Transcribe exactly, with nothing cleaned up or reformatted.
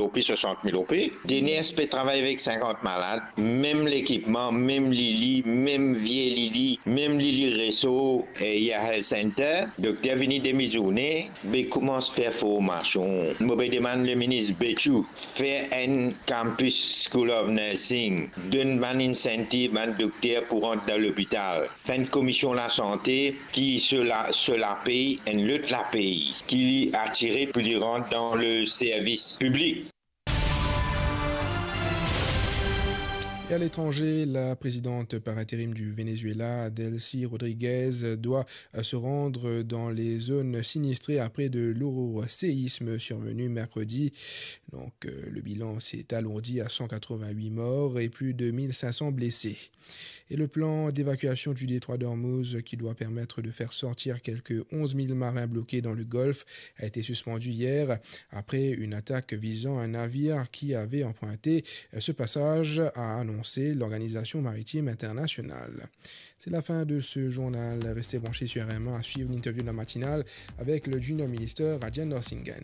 roupi, swasant mil roupi. DNS pe travay avek sinkant malad, mem lekipman, mem lili, mem vie lili, mem lili reso, e Yahya Health Center. Dokter vini demi zourne, be koumans fer formasion. Mo pe demann le minis Bechoo, fer enn campus School of Nursing, donn bann incentive bann dokter pou rant dan lopital. Fer enn komision lasante ki so la, so lapey, enn lot lapey, ki li atire pou li rant dan le servis piblik. Et à l'étranger, la présidente par intérim du Venezuela, Delcy Rodriguez, doit, euh, se rendre dans les zones sinistrées après de lourds séismes survenus mercredi. Donc, euh, le bilan s'est alourdi à cent quatre-vingt-huit morts et plus de mille cinq cents blessés. Et le plan d'évacuation du détroit d'Ormuz, qui doit permettre de faire sortir quelques onze mille marins bloqués dans le Golfe, a été suspendu hier après une attaque visant un navire qui avait emprunté ce passage, a annoncé l'Organisation Maritime Internationale. C'est la fin de ce journal. Restez branchés sur R M A à suivre l'interview de la matinale avec le Junior Minister Rajen Norsinghen.